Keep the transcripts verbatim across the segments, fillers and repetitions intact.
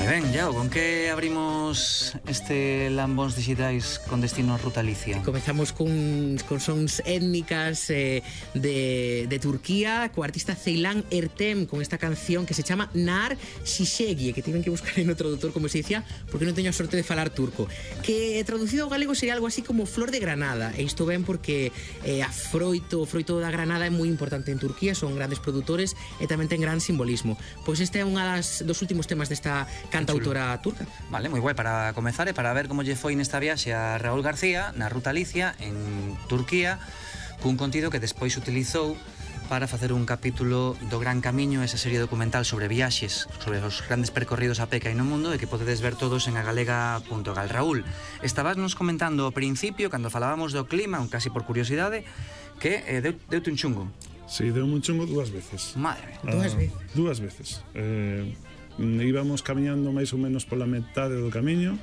Moi ben, Iago, con que abrimos este Lambóns Digitais con destino a Ruta Alicia? Comezamos con, con sons étnicas eh, de, de Turquía, co artista Ceylan Ertem, con esta canción que se chama Nar Şişegi, que tiven que buscar en o traductor como se dicía, porque non teño a sorte de falar turco, que traducido ao galego sería algo así como flor de granada, e isto ben porque eh, a froito, o froito da granada é moi importante en Turquía, son grandes produtores e tamén ten gran simbolismo. Pois este é unha das, dos últimos temas desta cantautora turca. Vale, moi guai para comezar e para ver como lle foi nesta viaxe a Raúl García na Ruta Alicia en Turquía, cun contido que despois utilizou para facer un capítulo do Gran Camiño, esa serie documental sobre viaxes, sobre os grandes percorridos a pé que hai no mundo e que podedes ver todos en agalega punto gal. Raúl, estabas nos comentando ao principio, cando falábamos do clima, un casi por curiosidade, que eh, deu, deute un chungo. Sí, deu un chungo dúas veces. Madre mía. Dúas veces? Dúas veces. Eh, íbamos camiñando máis ou menos pola metade do camiño,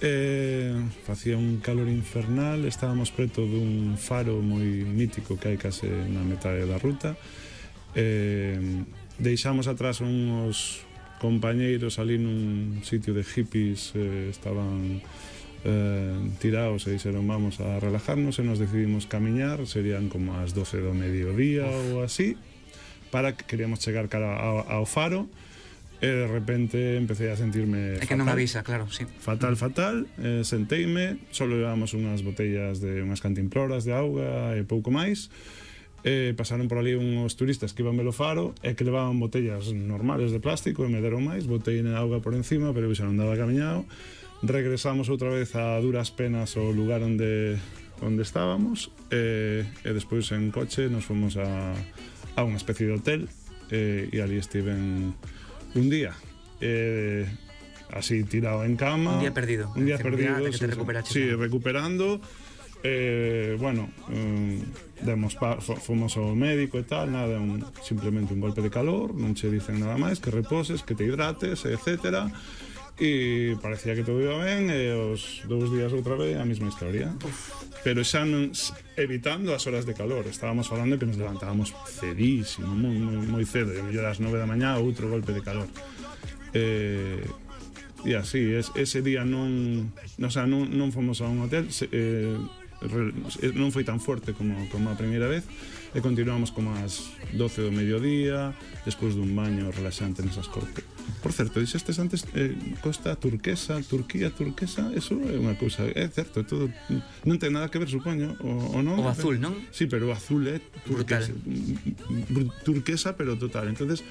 eh, facía un calor infernal, estábamos preto dun faro moi mítico que hai case na metade da ruta, eh, deixamos atrás uns compañeiros ali nun sitio de hippies, eh, estaban eh, tirados e dixeron vamos a relajarnos e nos decidimos camiñar, serían como as doce do mediodía ou así, para que queríamos chegar cara ao, ao faro. E de repente empecé a sentirme fatal. É que non avisa, claro, sí. Fatal, fatal, eh, senteime, solo levamos unhas botellas de unhas cantimploras de auga e pouco máis. Eh, pasaron por ali uns turistas que iban velo faro e que levaban botellas normales de plástico e me deron máis, botei na auga por encima, pero xa non daba camiñado. Regresamos outra vez a duras penas ao lugar onde onde estábamos e, e despois en coche nos fomos a, a unha especie de hotel e, e ali estiven un día eh, así tirado en cama, un día perdido un día perdido, que te recuperaste, sí, recuperando eh, bueno um, demos pa, fomos ao médico e tal, nada, un, simplemente un golpe de calor, non che dicen nada máis, que reposes, que te hidrates, etcétera, e parecía que todo iba ben e os dous días outra vez a mesma historia. Uf. Pero xa non, evitando as horas de calor, estábamos falando que nos levantábamos cedísimo, moi, moi, moi cedo, e a mellor ás nove da mañá outro golpe de calor. Eh, e así, es, ese día non, o sea, non, non fomos a un hotel, se, eh, re, non foi tan forte como, como a primeira vez, e continuamos como ás doce do mediodía, despois dun baño relaxante nesas cortes. Por certo, dixestes antes eh, costa turquesa, Turquía turquesa, eso é unha cousa, é certo, todo non ten nada que ver, supoño, o, o non. O azul, non? Sí, pero o azul é turquesa, turquesa, pero total. Entonces,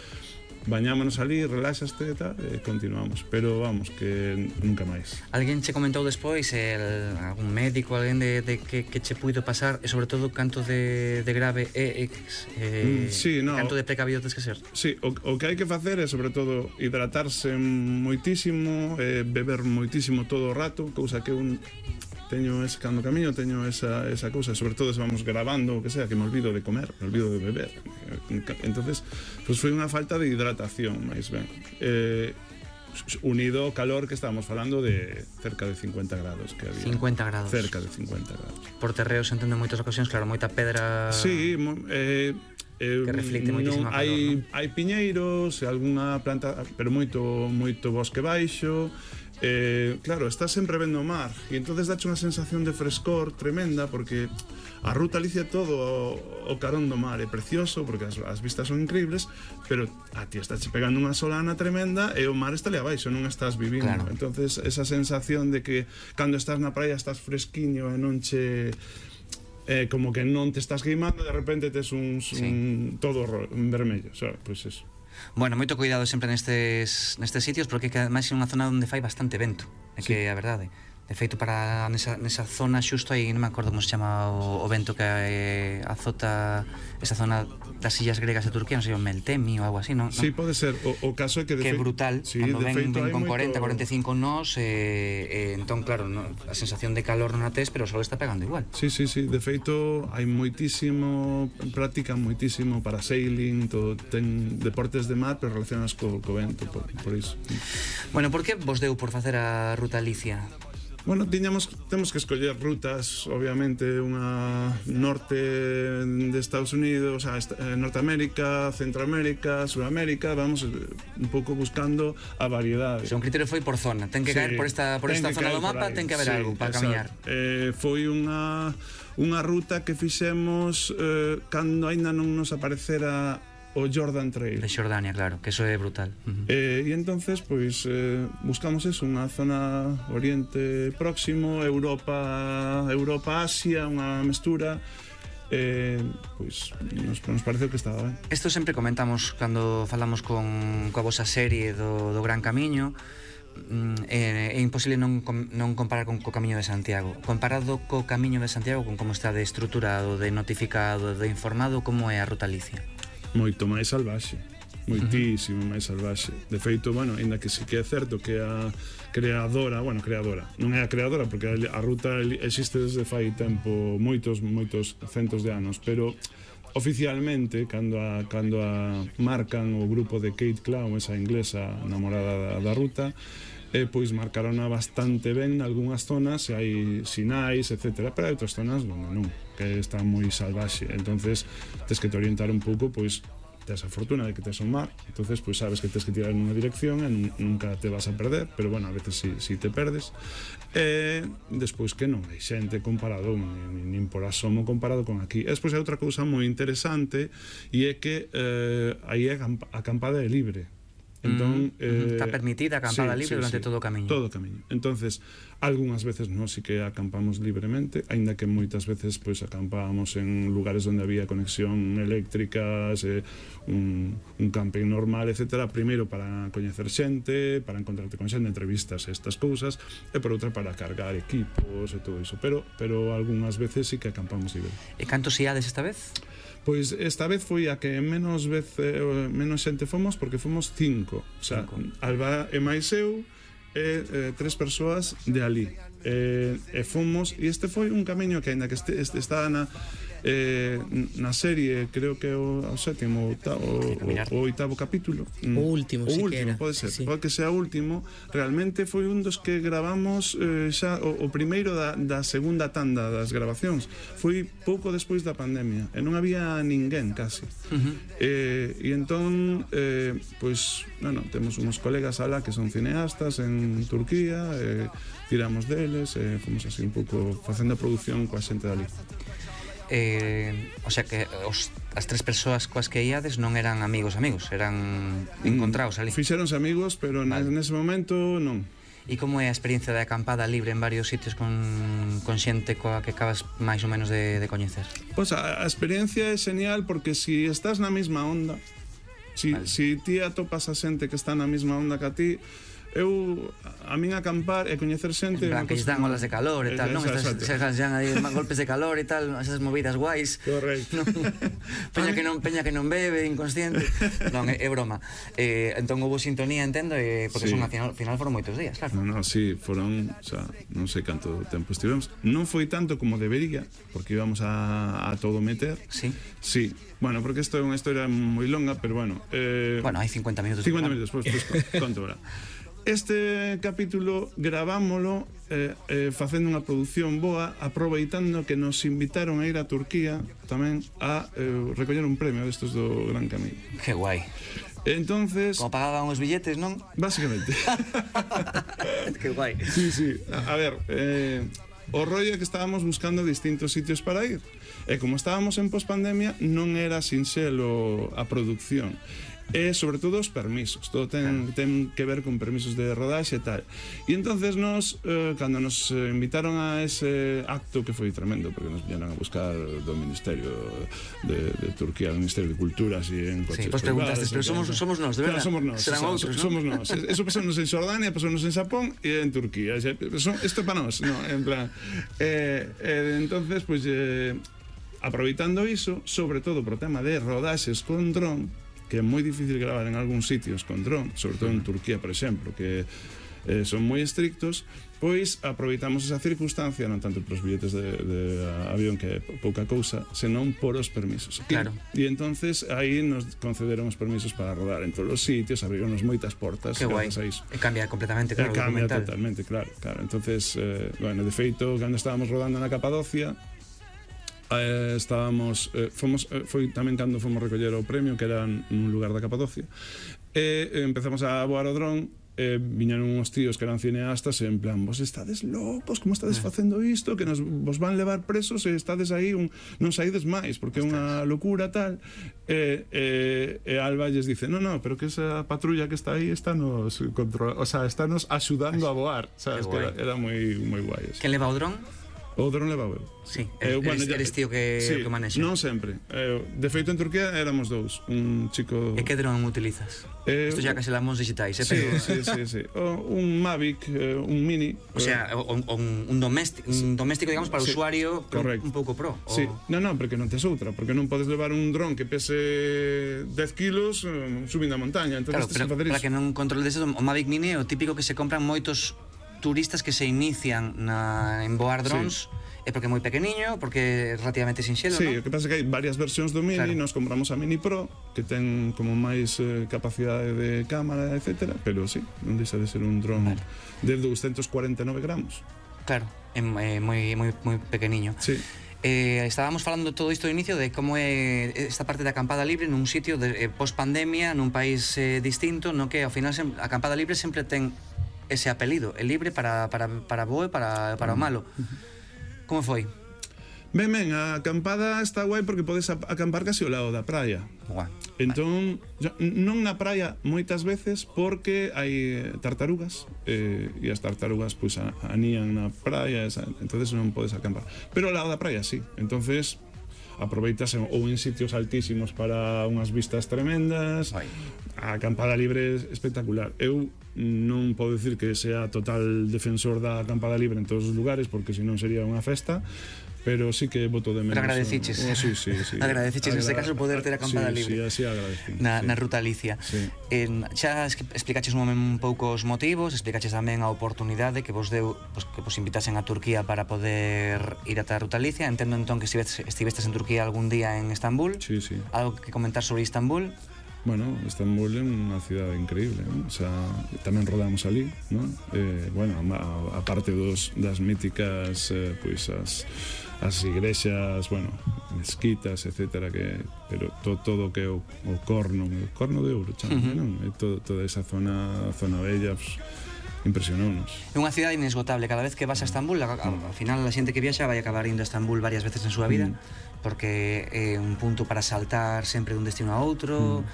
bañámonos ali, relaxaste e tal, e continuamos, pero vamos, que nunca máis. Alguén che comentou despois, el, algún médico, alguén de, de que, que che puido pasar, e sobre todo canto de, de grave é eh, mm, sí, no, canto de precavido tens que ser? Sí, o, o que hai que facer é sobre todo hidratarse moitísimo, eh, beber moitísimo todo o rato, cousa que un teño ese cando camiño, teño esa, esa cousa, sobre todo se vamos grabando o que sea, que me olvido de comer, me olvido de beber. Entonces, pues foi unha falta de hidratación, máis ben. Eh, unido ao calor que estábamos falando de cerca de cincuenta grados que había. cincuenta grados. Cerca de cincuenta grados. Por terreos entendo en moitas ocasións, claro, moita pedra. Sí, eh Eh, que reflicte moitísimo calor, hai, non? hai piñeiros, algunha planta, pero moito moito bosque baixo. Eh, claro, estás sempre vendo o mar e entonces dache unha sensación de frescor tremenda porque a Ruta Alicia todo o, o carón do mar é precioso porque as, as vistas son increíbles, pero a ti estás pegando unha solana tremenda e o mar está ali abaixo, non estás vivindo, claro. Entonces esa sensación de que cando estás na praia estás fresquiño e non che eh, como que non te estás queimando, de repente tes un, sí. un todo vermello, sabes? Pois pues eso. Bueno, moito cuidado sempre nestes, nestes sitios porque ademais é unha zona onde fai bastante vento, é sí. Que é a verdade. De feito, para nesa, nesa zona xusto aí, non me acordo como se chama o, o vento que eh, azota esa zona das illas gregas de Turquía, non sei, o Meltemi ou algo así, non? Sí, pode ser. O, o caso é que... De que é brutal, sí, cando ven, feito, ven con moito... cuarenta, cuarenta e cinco nós, eh, eh, entón, claro, no, a sensación de calor non a tes, pero o sol está pegando igual. Sí, sí, sí. De feito, hai moitísimo, practican moitísimo para sailing, todo, ten deportes de mar, pero relacionados co, co vento, por, por iso. Bueno, por que vos deu por facer a Ruta Alicia? Bueno, tiñamos, temos que escoller rutas, obviamente, unha norte de Estados Unidos, a Norteamérica, Centroamérica, Sudamérica, vamos un pouco buscando a variedade. Se un criterio foi por zona, ten que Sí, caer por esta, por ten esta que zona caer do por mapa, aí. ten que haber Sí, algo para exacto. camiñar. Eh, foi unha, unha ruta que fixemos eh, cando aínda non nos aparecera o Jordan Trail. De Xordania, claro, que eso é brutal. Uh-huh. Eh, e entonces, pois, eh, buscamos eso, unha zona Oriente Próximo, Europa, Europa, Asia, unha mestura. Eh, pois, nos, nos pareceu que estaba ben. Isto sempre comentamos cando falamos con coa vosa serie do, do Gran Camiño. É, é imposible non, non comparar con co Camiño de Santiago. Comparado co Camiño de Santiago, con como está de estruturado, de notificado, de informado, como é a Ruta Alicia? Moito máis salvaxe, moitísimo uh-huh. máis salvaxe. De feito, bueno, ainda que sí que é certo que a creadora, bueno, creadora, non é a creadora porque a ruta existe desde fai tempo moitos, moitos centos de anos, pero oficialmente, cando a, cando a marcan o grupo de Kate Clown, esa inglesa namorada da, da ruta, eh, pois marcarona bastante ben nalgúnas zonas, e hai sinais, etcétera, pero hai outras zonas onde non, que está moi salvaxe. Entonces, tes que te orientar un pouco, pois, tes a fortuna de que tes un mar, entonces, pois, sabes que tes que tirar nunha dirección e nunca te vas a perder, pero, bueno, a veces si, si te perdes. E despois que non hai xente comparado, nin, nin por asomo comparado con aquí. E despois hai outra cousa moi interesante, e é que eh, aí a acampada é libre. Entón, mm, eh, está permitida a acampada sí, libre sí, durante sí, todo o camiño. Todo o camiño. Entonces, algunhas veces nós sí que acampamos libremente, aínda que moitas veces pois acampábamos en lugares onde había conexión eléctrica, eh, un, un camping normal, etcétera. Primeiro para coñecer xente, para encontrarte con xente, entrevistas e estas cousas, e por outra para cargar equipos e todo iso. Pero, pero algunhas veces sí que acampamos libre. E cantos iades esta vez? Pois esta vez foi a que menos vez eh, menos xente fomos, porque fomos cinco. O sea, cinco. Alba e máis eu e eh, tres persoas de ali. E, e fomos, e este foi un camiño que aínda que este, este está na eh, na serie, creo que o, o sétimo o, o, o oitavo capítulo, o último, o si último, que era. pode ser, sí. pode que sea o último. Realmente foi un dos que gravamos eh, xa o, o primeiro da, da segunda tanda das grabacións. Foi pouco despois da pandemia e non había ninguén casi. Uh-huh. eh, e entón eh, pois, bueno, temos uns colegas alá que son cineastas en Turquía, eh, tiramos deles e eh, fomos así un pouco facendo a produción coa xente dali. Eh, o sea que os, as tres persoas coas que iades non eran amigos amigos, eran encontrados ali. Fixeronse amigos, pero vale. Nese momento non. E como é a experiencia de acampada libre en varios sitios con, con xente coa que acabas máis ou menos de, de coñecer? Pois a, a experiencia é genial porque si estás na mesma onda, si, vale. si ti atopas a xente que está na mesma onda que a ti, eu, a min acampar e coñecer xente... En plan, que lles dan olas de calor e tal, non? Estas xan aí golpes de calor e tal, esas movidas guais. Correcto. Peña que non peña que non bebe, inconsciente. Non, é, é broma. Eh, entón houve sintonía, entendo, eh, porque sí. son, a final, final foron moitos días, claro. Non, non, sí, foron, o sea, non sei canto tempo estivemos. Non foi tanto como debería, porque íbamos a, a todo meter. Sí. Sí. Bueno, porque isto é unha historia moi longa, pero bueno... Eh, bueno, hai cincuenta minutos. cincuenta minutos, pois, pois, conto ahora. Este capítulo gravámolo eh, eh, facendo unha produción boa, aproveitando que nos invitaron a ir a Turquía tamén a eh, recoller un premio destos do Gran Camiño. Que guai. Entonces, como pagaban os billetes, non? Básicamente. Que guai. Sí, sí. A, a ver, eh, o rollo é que estábamos buscando distintos sitios para ir. E como estábamos en pospandemia, non era sinxelo a produción. E sobre todo os permisos, todo ten, ten que ver con permisos de rodaxe e tal. E entonces nos, eh, cando nos invitaron a ese acto, que foi tremendo, porque nos viñeron a buscar do Ministerio de, de Turquía, do Ministerio de Cultura, así en coches. Sí, pues preguntaste, pero somos, somos nós, de verdad? Claro, somos nós. Serán o sea, outros, somos nós. Eso pasounos en Xordania, pasounos en Xapón e en Turquía. Isto é para nós, no, en plan. Eh, eh, entonces, pues, eh, aproveitando iso, sobre todo pro tema de rodaxes con dron, que é moi difícil gravar en algúns sitios con dron, sobre todo en Turquía, por exemplo, que eh, son moi estrictos, pois aproveitamos esa circunstancia non tanto pros billetes de, de avión, que é pouca cousa, senón por os permisos. Claro. E, e entonces aí nos concederon os permisos para rodar en todos os sitios, abrironos moitas portas. Que guai. A iso. E cambia completamente, claro, E cambia documental. totalmente, claro, claro. Entonces, eh, bueno, de feito, cando estábamos rodando na Capadocia, eh, estábamos eh, fomos, eh, foi tamén cando fomos recoller o premio, que era nun lugar da Capadocia, e eh, empezamos a voar o dron. Eh, viñeron uns tíos que eran cineastas e en plan, vos estades locos, como estades facendo isto, que nos vos van levar presos e estades aí, un, non saídes máis porque é unha locura tal. E, e, e Alba lles dice, no, no, pero que esa patrulla que está aí está nos control, o sea, está nos axudando a voar, sabes, que era, era moi moi guai eso. Quen leva o dron? O dron leva eu. Sí, Eh, eres, bueno, eres, ya- eres tío que, sí, que manexa. non sempre. Eh, de feito en Turquía éramos dous, un chico. E que dron utilizas? Eh, Isto xa que se lamos digitais, eh, Sí, pero... sí, sí, sí. O, un Mavic, eh, un Mini. O sea, o- o- un, un, doméstico, un doméstico, digamos, para o Sí, usuario pero correcto. un pouco pro. O... Sí, non, non, porque non tes outra, porque non podes levar un dron que pese dez kilos eh, subindo a montaña, entón Claro, tes pero que facer para iso. que non controles eso, o Mavic Mini é o típico que se compran moitos turistas que se inician na, en voar drones, é porque é moi pequeniño, porque é relativamente sinxelo, Sí, non? o que pasa é que hai varias versións do Mini, Claro. nos compramos a Mini Pro, que ten como máis eh, capacidade de cámara, etcétera, pero sí, non deixa de ser un dron Vale. de doscientos cuarenta e nove gramos. Claro, é é moi, moi, moi pequeniño. Sí. Eh, estábamos falando todo isto ao inicio de como é esta parte da acampada libre nun sitio de, eh, post-pandemia, nun país eh, distinto, no que ao final sem, a acampada libre sempre ten ese apelido, é libre para, para, para bo e para, para o malo. Como foi? Ben, ben, a acampada está guai porque podes ap- acampar casi ao lado da praia. Guau. Entón, yo- non na praia moitas veces porque hai eh, tartarugas eh, e as tartarugas pois a- anían na praia, esa, entonces non podes acampar. Pero ao lado da praia sí. Entonces aproveitas en- ou en sitios altísimos para unhas vistas tremendas. Guai. A acampada libre é espectacular. Eu non podo dicir que sea total defensor da acampada libre en todos os lugares porque senón sería unha festa, pero sí que voto de menos. Pero agradeciches. Oh, sí, sí, sí. Agradeciches neste caso poder ter acampada sí, libre. Sí, así agradecí. Na, sí. na ruta Alicia. Sí. En, xa es- explicaches un, un pouco os motivos, explicaches tamén a oportunidade que vos deu, pues, que vos invitasen a Turquía para poder ir ata a ruta Alicia. Entendo entón que estivestes, estivestes en Turquía algún día en Estambul. Sí, sí. Algo que comentar sobre Istambul? Bueno, Estambul é unha cidade increíble, ¿no? O sea, tamén rodamos ali, ¿no? Eh, bueno, a, a parte dos, das míticas, eh, pois as, as igrexas, bueno, mezquitas, etcétera, que, pero to, todo o que é o, o corno, o corno de ouro, chama, Uh-huh. non? E todo, toda esa zona, zona bella, pues, impresionounos. É unha cidade inesgotable. Cada vez que vas a Estambul, a, a, ao final a xente que viaxa vai acabar indo a Estambul varias veces en súa vida, porque é un punto para saltar sempre dun destino a outro.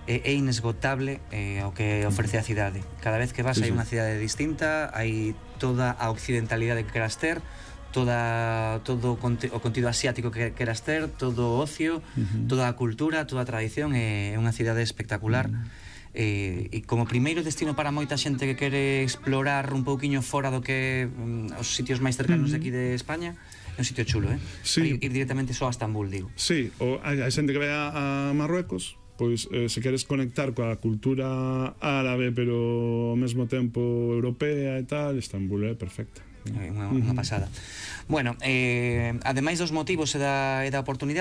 É, é inesgotable eh, o que ofrece a cidade. Cada vez que vas Sí, hai sí. unha cidade distinta, hai toda a occidentalidade que queras ter, toda todo o, conte, o contido asiático que queras ter, todo o ocio, Uh-huh. toda a cultura, toda a tradición. É unha cidade espectacular. Eh, e como primeiro destino para moita xente que quere explorar un pouquiño fora do que mm, os sitios máis cercanos de aquí de España, é un sitio chulo, eh? Sí. Ir, ir directamente só a Estambul, digo. Sí, o hai, hai xente que vai a, a Marruecos, pois eh, se queres conectar coa cultura árabe pero ao mesmo tempo europea e tal, Estambul é perfecta. É unha, unha pasada. Bueno, eh, ademais dos motivos e da, e da oportunidade,